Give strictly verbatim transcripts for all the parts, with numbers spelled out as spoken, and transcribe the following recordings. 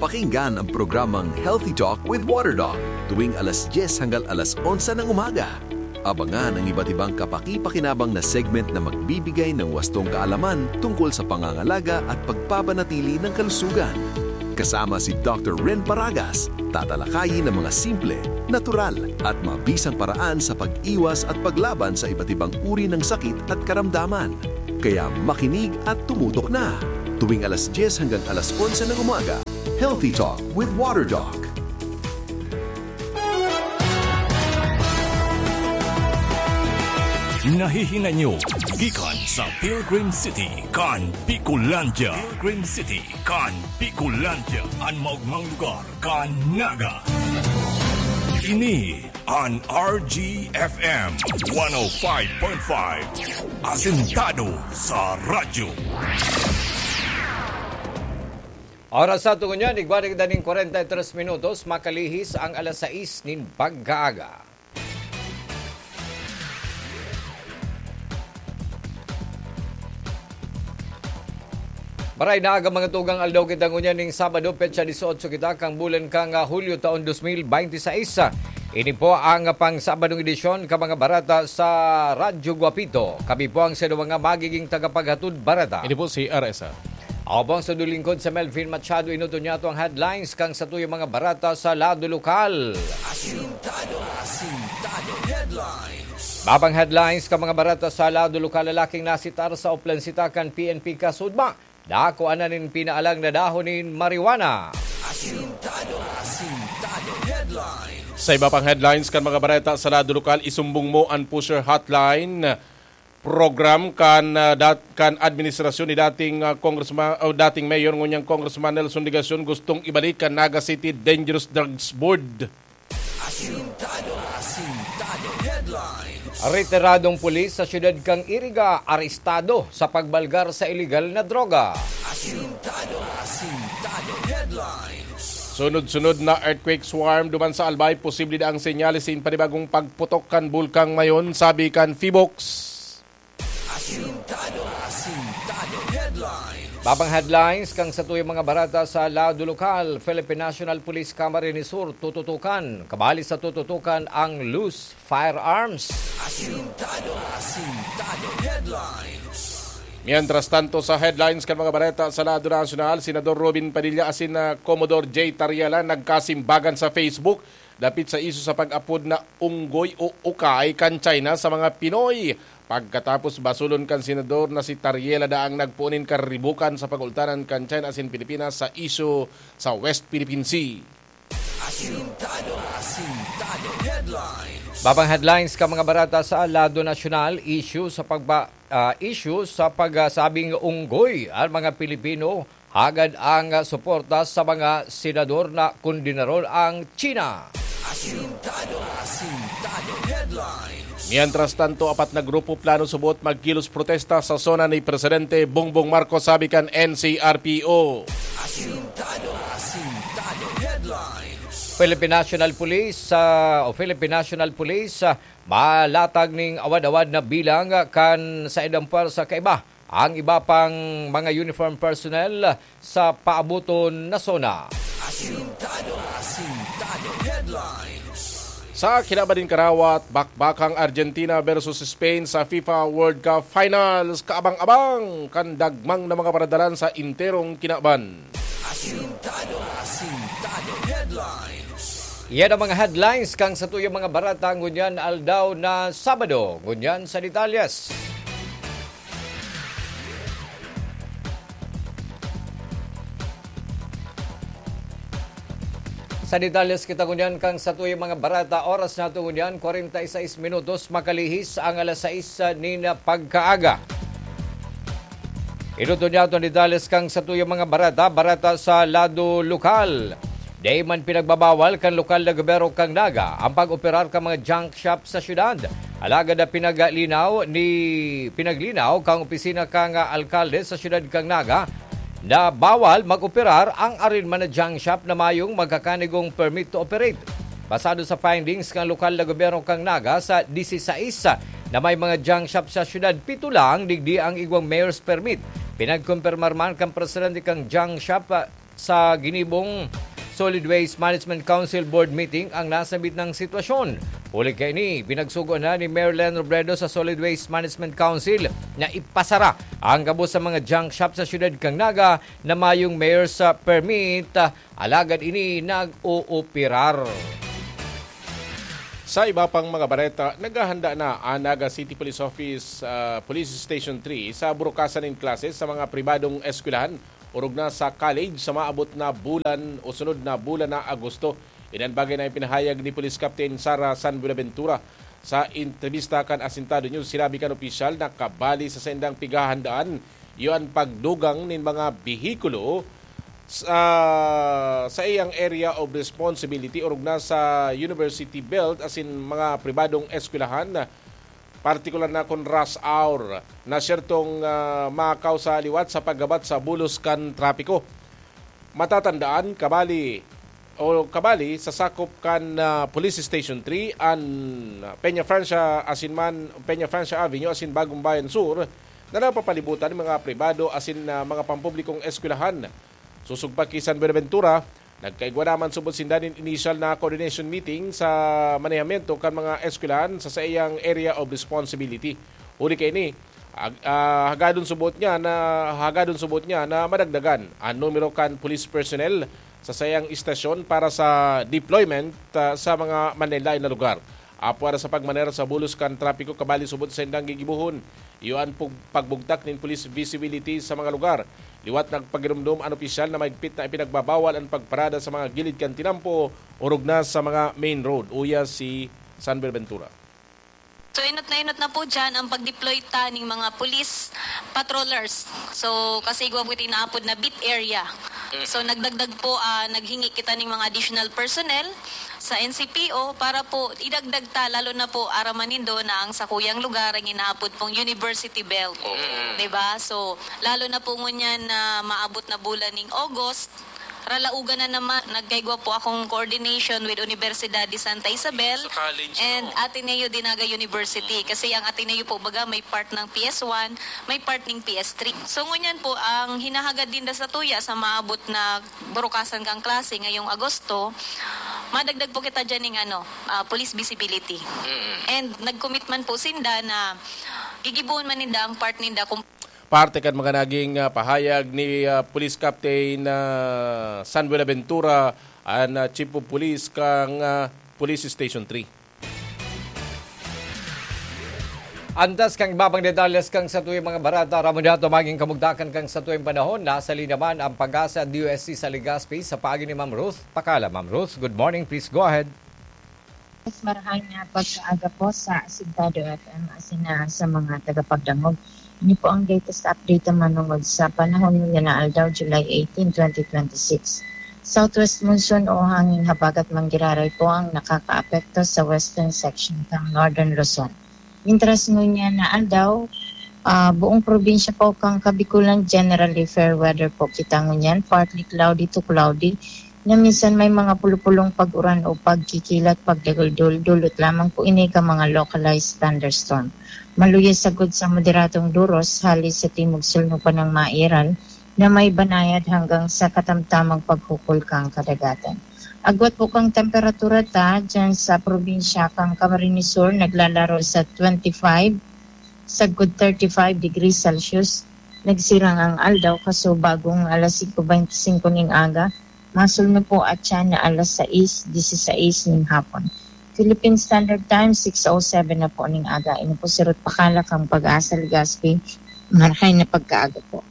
Pakinggan ang programang Healthy Talk with Water Doc tuwing alas dyes hanggang alas onse ng umaga. Abangan ang iba't ibang kapaki-pakinabang na segment na magbibigay ng wastong kaalaman tungkol sa pangangalaga at pagpapanatili ng kalusugan. Kasama si Doctor Ren Paragas, tatalakayin ang mga simple, natural, at mabisang paraan sa pag-iwas at paglaban sa iba't ibang uri ng sakit at karamdaman. Kaya makinig at tumutok na. Tuwing alas dyes hanggang alas onse ng umaga, Healthy Talk with Water Doc. Nahihinay nyo gikan sa Pilgrim City kan Bicolandia. Pilgrim City kan Bicolandia, an maogmang lugar kan Naga. Ini an R G F M one oh five point five, asentado sa radyo. Oras sa tungon niya, nagbalik na nin kwarenta y tres minutos, makalihis ang alas sais nin pagkaaga. Maray na aga, mga tugang, aldaw kita ngunyan ning Sabado, petsa dieciocho kita kan bulan kan, ah, Hulyo, taon dos mil bente seis. Ini po ang pang-Sabadong edisyon kan mga bareta sa Radyo Guapito. Kami po ang saindo mga magiging tagapaghatod bareta. Ini po si R S R. Ako po ang saindo lingkod, si Melvin Machado. Inoton niyato ang headlines kan satuyang mga bareta sa lado lokal. Asintado, asintado headlines. Babang headlines kan mga bareta sa lado lokal: lalaking nasitar sa Oplansita kan P N P kasudma, nakuanan nin pinaalang na dahon nin marijuana. Asintado, asintado headlines. Sa iba pang headlines kan mga bareta sa lado lokal, isumbong mo an Pusher Hotline program kan, ah, dat-, kan administrasyon ni dating, ah, congressman, o dating mayor ngunyan Congressman Nelson Legacion, gustong ibalik kan Naga City Dangerous Drugs Board. Asintado, asintado headlines. Retiradong pulis sa siyudad kan Iriga arestado sa pagbalgar sa iligal na droga. Asintado, asintado headlines. Sunod-sunod na earthquake swarm duman sa Albay, posible na ang senyales nin panibagong pagputok kan Bulkang Mayon, sabi kan PHIVOLCS. Asintado, asintado headlines. Babang headlines kan satuyang mga bareta sa lado lokal: Philippine National Police Camarines Sur tututukan. Kabali sa tututukan ang loose firearms. Asintado, asintado headlines. Mientras tanto, sa headlines kan mga bareta sa lado nasyonal, Senador Robin Padilla asin, ah, Commodore Jay Tarriela nagkasimbagan sa Facebook dapit sa isyu sa pag-apod na unggoy o ukay kan China sa mga Pinoy. Pagkatapos basulon kan senador na si Tarriela daang nagpoon nin karibukan sa pag-ultanan kan China asin Pilipinas sa isyu sa West Philippine Sea. Asintado, asintado headlines. Babang headlines kan mga bareta sa lado nasyonal: isyu sa pagba-, ah, isyu sa pagsabing unggoy ang mga Pilipino, hagad ang suporta sa mga senador na kondenaron ang China. Asintado, asintado headlines. Mientras tanto, apat na grupo plano subot magkilos protesta sa zona ni Presidente Bongbong Marcos, sabi kan N C R P O. Asintado, asintado headlines. Philippine National Police, ah, o Philippine National Police, ah, malatag ning awad-awad na bilang kan saindang pwersa kaiba ang iba pang mga uniform personnel sa paaboton na zona. Asintado, asintado headlines. Sa kinaban nin karawat, bakbakang Argentina versus Spain sa FIFA World Cup Finals, kaabang-abang kan dagmang na mga paradalan sa enterong kinaban. Asintado, asintado headlines. Yan ang mga headlines kan satuyang mga bareta ngunyan aldaw na Sabado. Ngunyan sa detalyes. Sa detalyes kita ngunyan kan satuyang mga bareta. Oras nato ngunyan, kwarenta y seis minutos, makalihis ang alas sais nin pagkaaga. Inoton niyato an detalyes kan satuyang mga bareta, bareta sa lado lokal. Dai man pinagbabawal kan lokal na gobyerno kan Naga ang pag-operar kan mga junk shop sa syudad. Alagad na pinaglinaw ni, pinaglinaw kan opisina kan alkalde sa syudad kan Naga na bawal mag-operar ang arin man na junk shop na mayong magkakanigong permit to operate. Basado sa findings kan lokal na gobyerno kan Naga, sa disisais na may mga junk shop sa syudad, pito lang digdi ang igwang mayor's permit. Pinagkumpirmar man kan presidente kan junk shop, ah, sa ginibong Solid Waste Management Council Board meeting ang nasambit na sitwasyon. Huli kaini, pinagsugo na ni Mayor Len Robredo sa Solid Waste Management Council na ipasara ang gabos sa mga junk shop sa siyudad kan Naga na mayong mayor's permit, alagad ini nag-ooperar. Sa iba pang mga bareta, naghahanda na ang Naga City Police Office, ah, Police Station three sa burukasan nin klase sa mga pribadong eskwelahan, orog na sa college sa maabot na bulan o sunod na bulan na Agosto. Iyan bagay na ipinahayag ni Police Captain Sara San Buenaventura. Sa entrevista kan Asintado News, sinabi kan opisyal na kabali sa saindang pighahandaan, iyo an pagdugang nin mga behikulo sa, sa iyang area of responsibility, orog na sa university belt asin mga pribadong eskwelahan, partikular na kun rush hour na siyertong, ah, makausa liwat sa paggabat sa bulos kan trapiko. Matatandaan, kabali o kabali sa sakop kan, ah, Police Station three, an Peña Francia asin man Peña Francia Avenue asin Bagong Bayan Sur na napapalibutan ng mga pribado asin, ah, mga pampublikong eskwelahan. Susog pa ki San Buenaventura, nagkaigwa naman subot sinda nin initial na coordination meeting sa manehamiento kan mga eskwelahan sa saiyang area of responsibility. Huli kaini, ag-, ah, hagadon subot niya na, hagadon subot niya na madagdagan an numero kan police personnel sa saiyang istasyon para sa deployment, ah, sa mga manlaen-laen na lugar. Apwera sa pagmaneho sa bulos kan trapiko kabali subot sa saindang gigibohon, iyo an pug-, pagbugtak nin police visibility sa mga lugar. Liwat nagpagiromdom an opisyal na mahigpit na ipinagbabawal an pagparada sa mga gilid kan tinampo, orog na sa mga main road, uya si San Buenaventura. So, enot na enot na po dyan ang pag-deploy ta ning mga police patrollers. So, kasi igwa po ito inaapod na beat area. So, nagdagdag po, ah, naghingi kita ning mga additional personnel sa N C P O para po idagdag ta, lalo na po, aram man nindo na ang sakuyang lugar ang inaapod pong University Belt. Oo. 'Di ba? So, lalo na po ngunyan na maabot na bulan ning August, ralaugan na naman, nagkaigwa po akong coordination with Universidad de Santa Isabel Sa college, and no? Ateneo de Naga University. Kasi ang Ateneo po, baga, may part ng P S one, may part ng P S three. So, ngunyan po, ang hinahagad din da sa tuya sa maabot na burukasan kang klase ngayong Agosto, madagdag po kita dyan ng ano, ah, police visibility. Mm. And nag-commit man po sinda na gigibohon man ninda ang part ninda kung Parte kan mga naging, ah, pahayag ni, ah, Police Captain, ah, San Buenaventura, an, ah, Chief of Police kan, ah, Police Station three. Antas kan iba pang detalles kan satuyang mga bareta, aram mo na, tumaging kamugtakan kan satuyang panahon, nasa linya naman ang PAGASA D O S T sa Legazpi sa paagi ni Ma'am Ruth. Pakala, Ma'am Ruth. Good morning, please go ahead. Mas marahay na pagkaaga po sa Asintado F M asin na sa mga tagapagdangog. Ini po ang latest update na manungod sa panahon ngunyan na aldaw, July eighteen, twenty twenty-six. Southwest monsoon o hangin habagat manggiraray po ang nakakaapekto sa western section ng Northern Luzon. Mintras ngunyan na aldaw, ah, buong probinsya po kang Kabikulan, generally fair weather po kita ngunyan, partly cloudy to cloudy, na minsan may mga pulupulong pag-uran o pagkikilat, pagdagul-dul, dulot lamang po ini ka mga localized thunderstorm. Maluya sagkod sa moderadong duros, hali sa timog sulnupan ng Mairal, na may banayad hanggang sa katamtamang paghukol kang kadagatan. Agwat po kang temperatura ta, dyan sa probinsya kang Camarines Sur, naglalaro sa twenty-five, sagkod thirty-five degrees Celsius. Nagsirang ang aldaw, kaso bagong alas singko beintisinko ning aga, masul na po at siya na alas sais, disisais ning hapon. Philippine Standard Time, six oh seven na po ning aga. Ini po si Ruth Pakala kang PAGASA Legazpi. Marahay na pagkaaga po.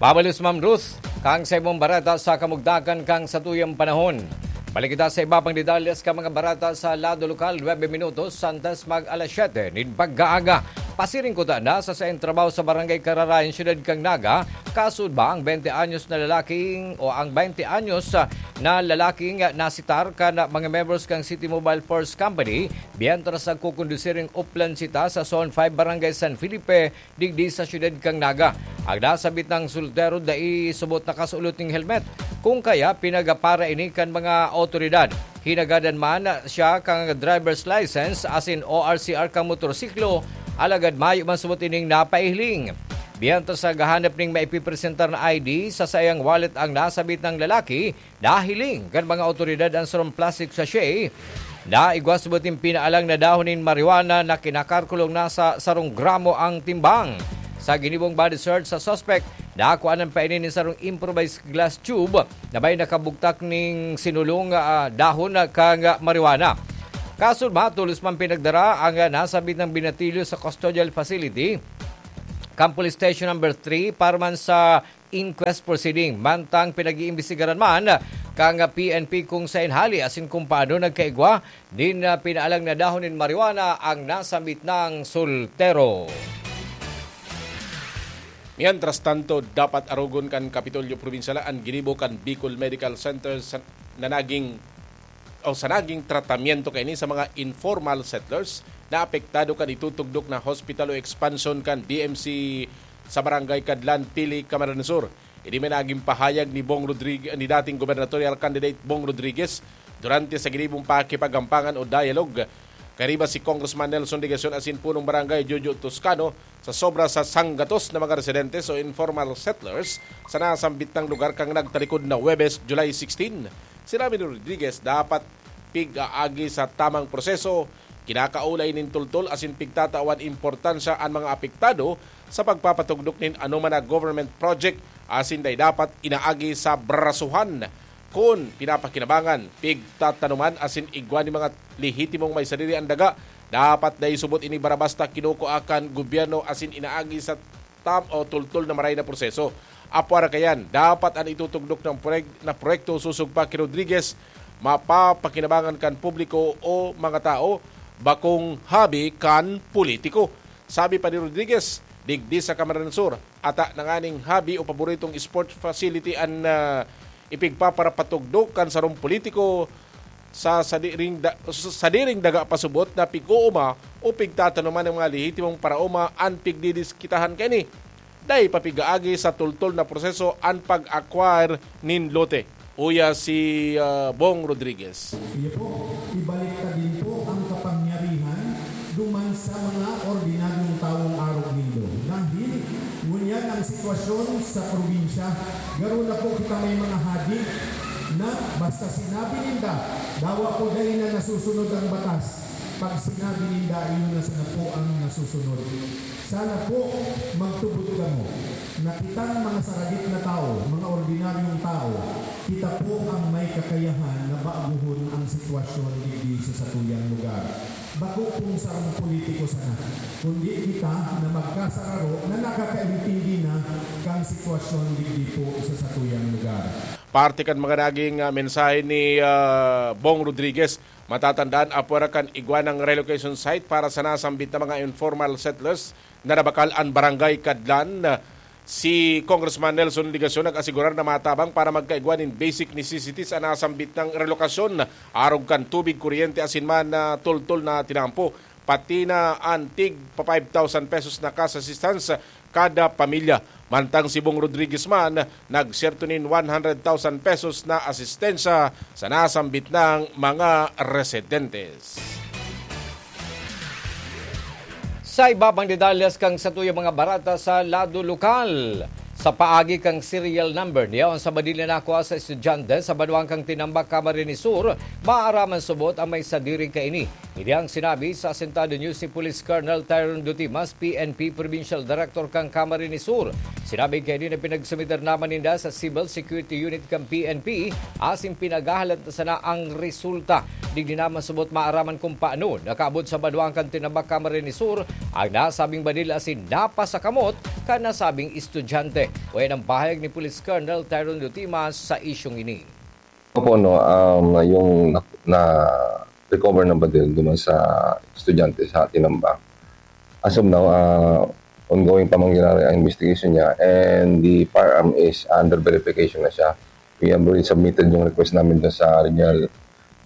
Babalos, Ma'am Ruth, kang sa imong bareta sa kamugtakan kang satuyang panahon. Balik kita sa iba pang detalles ka mga bareta sa lado lokal, nuebe minutos antes mag alas siyete nin pagkaaga. Pasiring ko ta na sa saing trabaho sa Barangay Kararayan, Siyudad kang Naga, kaso ba ang bente anyos na lalaking o ang bente anyos na lalaking nasitar kan mga members kang City Mobile Force Company, mientras nagkukondusir nin Oplan Cita sa Zone five, Barangay San Felipe, digdi sa siyudad kang Naga. Ang nasabit nang soltero dai subot nakasulot ning helmet, kung kaya pinagapara ini kan mga awtoridad. Hinagadan man siya kan driver's license asin O R C R kan motorsiklo, alagad mayo man subot ining napaihiling. Mientras naghahanap ning maipipresentar na I D, sa saiyang wallet ang nasabit ng lalaki, nahiling kan mga awtoridad ang sarong plastic sachet na igwa sa buting pinaalang na dahon nin marijuana na kinakalkulong nasa sarong gramo ang timbang. Sa ginibong body search sa suspect, nakuhanan pa ini nin sarong improvised glass tube na may nakabugtak ning sinulong, ah, dahon kan marijuana. Kasunod, matolos man pinagdara ang, ah, nasabit na binatilyo sa custodial facility kan Police Station Number Three para man sa inquest proceeding. Mantang pinag-iimbestigaran man kan P N P kung saen hali asin kung paano nagkaigwa nin, ah, pinaalang na dahon nin marijuana ang nasambit na soltero. Mientras tanto, dapat arogon kan Kapitolyo Probinsyal an ginibo kan Bicol Medical Center sa, na naging, o sa naging tratamiento kaini sa mga informal settlers na apektado kan itutugdok na hospital o expansion kan B M C sa Barangay Cadlan, Pili, Camarines Sur. Ini man naging pahayag ni Bong Rodrig-, ni dating gubernatorial candidate Bong Rodriguez durante sa ginibong pakikipaggampangan o dialogue kaiba si Congressman Nelson Legacion asin punong barangay Jojo Toscano sa sobra sa sanggatos na mga residentes o informal settlers sa nasambit na lugar kan nagtalikod na Huwebes, July sixteen. Sinabi ni Rodriguez, dapat pig-aagi sa tamang proseso, kinakaulay nin tultol asin pigtatawan importansya an mga apektado sa pagpapatugdok nin anoman na government project asin dai dapat inaagi sa brasuhan. Kun pinapakinabangan, pigtatanoman asin igwa nin mga lehitimong may sadiri an daga, dapat dai subot ini barabasta kinukua kan gobyerno asin inaagi sa tam o tultol na maray na proseso. Apwara kayan, dapat an itutugdok na proyek-, na proyekto sosog pa ki Rodriguez mapapakinabangan kan publiko o mga tao, bakong habi kan politiko. Sabi pa ni Rodriguez, digdi sa Camarines Sur, ata na nganing habi o paboritong sport facility an, ah, ipigpaparapatugdok kan sarong politiko sa sadiring da-, sa sadiring daga pasubot na pig-uuma o pigtatanoman ng mga lehitimong paraoma an pigdidiskitahan kaini. Dai pa pig-aagi sa tultol na proseso an pag-acquire nin lote. Uya si, ah, Bong Rodriguez. Iyo po, ibalik ta din po ang kapangyarihan duman sa mga ordinaryong tawong arog nindo. Dahil ngunyan ang sitwasyon sa probinsya, garo na po kita may mga hadi na basta sinabi ninda, dawa po dai na nasusunod ang batas. Pag sinabi ninda, iyon na sana po ang nasusunod. Sana po magtubod kamo na kitang mga saradit na tao, mga ordinaryong tao, kita po ang may kakayahan na baguhon ang sitwasyon digdi sa satuyang lugar. Bako pong sarong politiko sana, kundi kita na magkasararo na nakakaintindi na kan sitwasyon digdi po sa satuyang lugar. Parte kan mga naging, ah, mensahe ni, ah, Bong Rodriguez. Matatandaan, apwera kan igwa ng relocation site para sa nasambit na mga informal settlers na nabakal an Barangay Cadlan, si Congressman Nelson Legacion nag-asigurar na matabang para magkaigwa nin basic necessities an nasambit na relokasyon, arog kan tubig, kuryente asin man na tultol na tinampo, pati na an tig pa five thousand pesos na cash assistance kada pamilya. Mantang si Bong Rodriguez man, nagserto nin one hundred thousand pesos na asistensya sa nasambit na mga residentes. Sa iba pang detalles kan satuyang mga bareta sa lado lokal, sa paagi kan serial number na yaon sa Manila nakua sa estudyante sa banwaan kan Tinambac, Camarines Sur, maaraman subot an may sadiri kaini. Ini ang sinabi sa Asintado News ni Police Colonel Tyron Dutimas, P N P Provincial Director kan Camarines Sur. Sinabi kaini na pinagsumiter naman ninda sa Civil Security Unit kan P N P asin pinaghahalat na sana ang resulta. Digdi naman subot maaraman kung paano nakaabot sa banwaan kan Tinambac, Camarines Sur ang nasabing badil asin napasakamot kan nasabing estudyante. Uya ang pahayag ni Police Colonel Tyron Dutimas sa isyong ini. Opo, no, um, yung na, na-recover na badil duman sa estudyante sa Tinambac. As of now, ah, ongoing pa man ginagawa ang investigation niya, and the firearm is under verification na siya. We have already submitted yung request namin dun sa regional,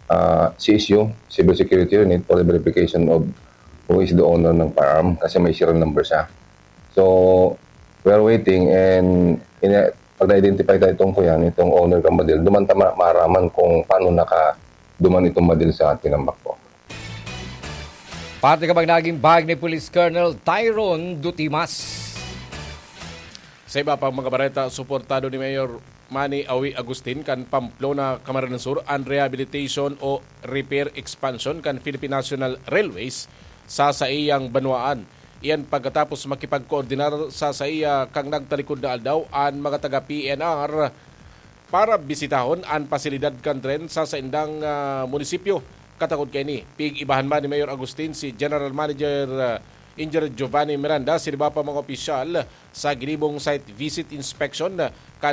ah, C S U, Civil Security Unit, for the verification of who is the owner ng firearm kasi may serial number siya. So, we are waiting and ina-, pag na-identify tayo itong kuyan, itong owner ng badil, duman ta ma-, maaraman kung paano naka-, duman itong badil sa Tinambac po. Parte ka bang naging bahag ni Police Colonel Tyron Dutimas? Sa iba pang mga bareta, suportado ni Mayor Manny Awi Agustin kan Pamplona, Camarines Sur, an rehabilitation o repair expansion kan Philippine National Railways sa saiyang banwaan. Iyan pagkatapos makipagkoordinar sa saiya kan nagtalikod na aldaw an mga taga P N R para bisitahon an pasilidad kan tren sa saindang, ah, munisipyo. Katakod kaini, pig-ibahan man ni Mayor Agustin si General Manager, ah, Engineer Giovanni Miranda, sa iba pa mga opisyal sa ginibong site visit inspection kan